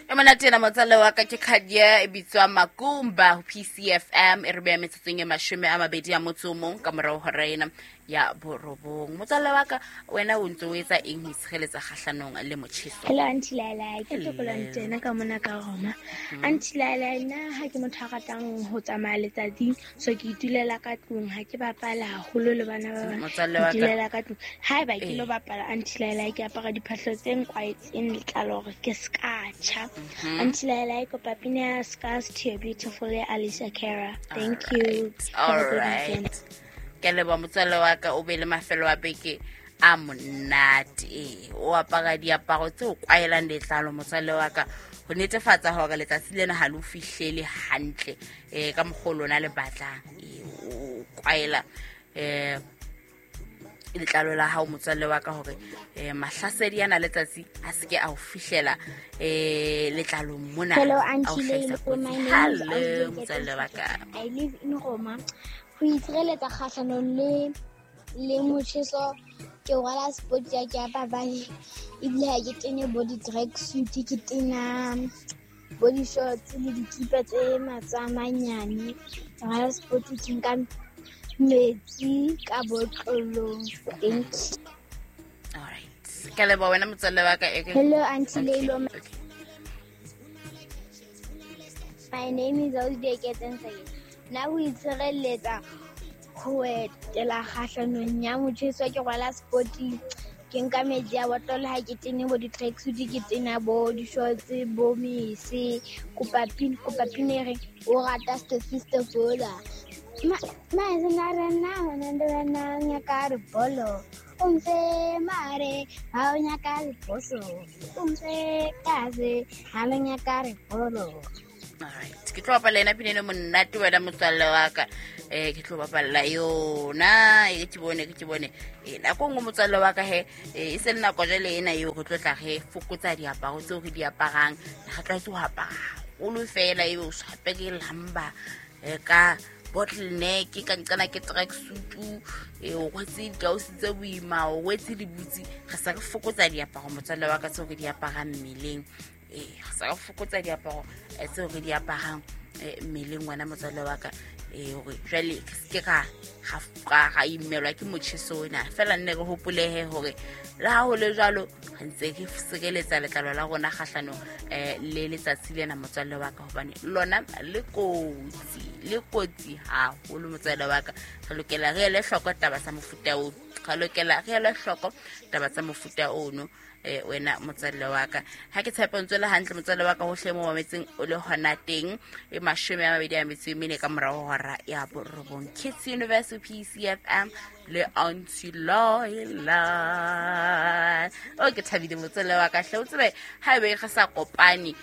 E monate ena, motswalle wa ka, ke khadia e bitswa Makumba ho PCFM. E re beya metsotsong e 28 ka morao hora ena ya 9. Motswalle wa ka, wena o ntse o etsa eng ho itshireletsa kgahlanong le motjheso? Hello, Aunty Laila, ke Tokolo Ntena ka mona ka Roma. Aunty Laila, nna ha ke motho a ratang ho tsamaya letsatsing, so ke itulela ka tlung, ha ke bapala haholo le bana ba bang. Motswalle Ke wa ka. itulela ka tlung. Haeba ke lo Ee. bapala, Aunty Laila, ke apara diphahlo tse nkwaetseng letlalo hore ke ska tjha. Aunty Laila, ke kopa pina ya Scars to Your Beautiful ya Alessia Cara. Thank you. All Have a good right. weekend. Ke a leboha, motswalle wa ka, o be le mafelo a beke a monate. Ee, o apara diaparo tse o kwaelang letlalo, motswalle wa ka, ho netefatsa hore letsatsi lena ha le o fihlele hantle ka mokgwa o lona le batlang. Ee, o kwaela letlalo la hao, motswalle wa ka, hore mahlasedi ana letsatsi a seke a o fihlela letlalong mona, Hello, a o Auntie hlahisa Leilo. kotsi. My name is Hello, Ausi motswalle wa ka. I live in Roma. Ho itshireletsa kgahlanong le motjheso, ke rwala sport ya ke ya papadi, ebile ha ke tene bo di-track suit, ke tena bo di-shorts le dikipa tse matsoho a manyane. Ke rwala sport, ke nka metsi ka botlolong. Thank you. All right, ke a leboha wena, motswalle wa ka. Hello, Auntie Leilo. Okay. My name is Ausi Eketseng. Nna ho itshireletsa ho etela kgahlanong ya motjheso, ke rwala spoti, ke nka metsi a botlolo, ha ke tene bo di-tracksuit, ke tena bo di-shorts, bo mese. Kopa pina, kopa pina e reng o rata Stofistofola. Masenarena nyaka re bolo, o mfe mare ha o nyaka leposo, o mfe kaze ha le nyaka re bolo. Alright, ke tlo bapalla ena pina eno monate, wena motswalle wa ka. Ke tlo bapalla yona e ke bone, ke bone. Nako nngwe, motswalle wa ka, he e se le nako jwale ena eo re tlo tla re fokotsa diaparo tseo re di aparang. Re tlwaetse ho apara haholo fela, ebe o so hape ke lamba ka bottle neck, ka nqana ke track suit, o rwetse dikausi tse boima, o rwetse dibutsi. Re sa re fokotsa diaparo, motswalle wa ka, tseo re di aparang mmeleng. Re sa re fokotsa diaparo tseo re di aparang mmeleng, wena motswalle wa ka, hore jwale re seke ra imelwa ke motjheso ona. Feela nne re hopolehe hore le ha ho le jwalo, re ntse re sireletsa letlalo la rona kgahlanong le letsatsi lena, motswalle wa ka, hobane lona le kotsi, le kotsi haholo, motswalle wa ka. Re lokela re ele hloko taba tsa mofuta oo, re lokela re ele hloko taba tsa mofuta ono. Wena motswalle wa ka, ha ke tshepe o ntse o le hantle, motswalle wa ka, hohle mo mametseng o le hona teng. E 24 ka morao ho hora ya 9, Kids Universe, PCFM le Auntie Loila. O ke thabile, motswalle wa ka hle. O tsebe ha ebe re sa kopane,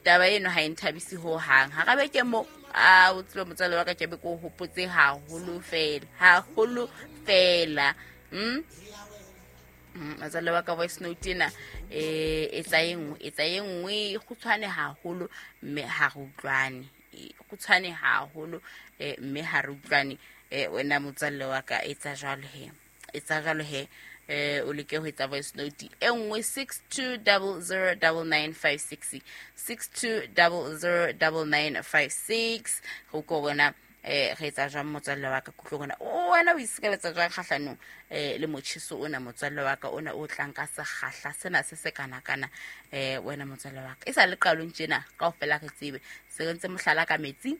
taba eno ha e nthabise ho hang. Ha ra beke mo a o tsebe, motswalle wa ka, ke be ke o hopotse haholo fela, haholo fela. Motswalle wa ka, voice note ena etsa e nngwe, etsa e nngwe e kgutshwane haholo mme ha re utlwane. E kgutshwane haholo mme ha re utlwane. Wena motswalle wa ka, etsa jwalo he, etsa jwalo he. O leke ho etsa voice note e nngwe, 62009956, 62009956. Go ko bona re etsa jwang, motswalle wa ka, kutlo bona o wena o isireletsa jwang kgahlanong le motjheso ona, motswalle wa ka, ona o tlang ka sekgahla sena se se kana-kana. Wena motswalle wa ka, e sa le qalong tjena kaofela re tsebe se re ntse mohlala ka metsi.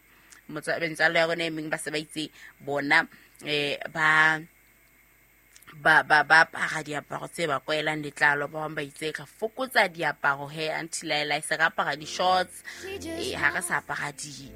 Metswalle ya rona e meng ba se ba itse bona ba apara diaparo tse ba kwaelang letlalo. Ba bang ba itse re fokotsa diaparo he, Auntie Laila, se re apara di-shorts, ha re sa apara di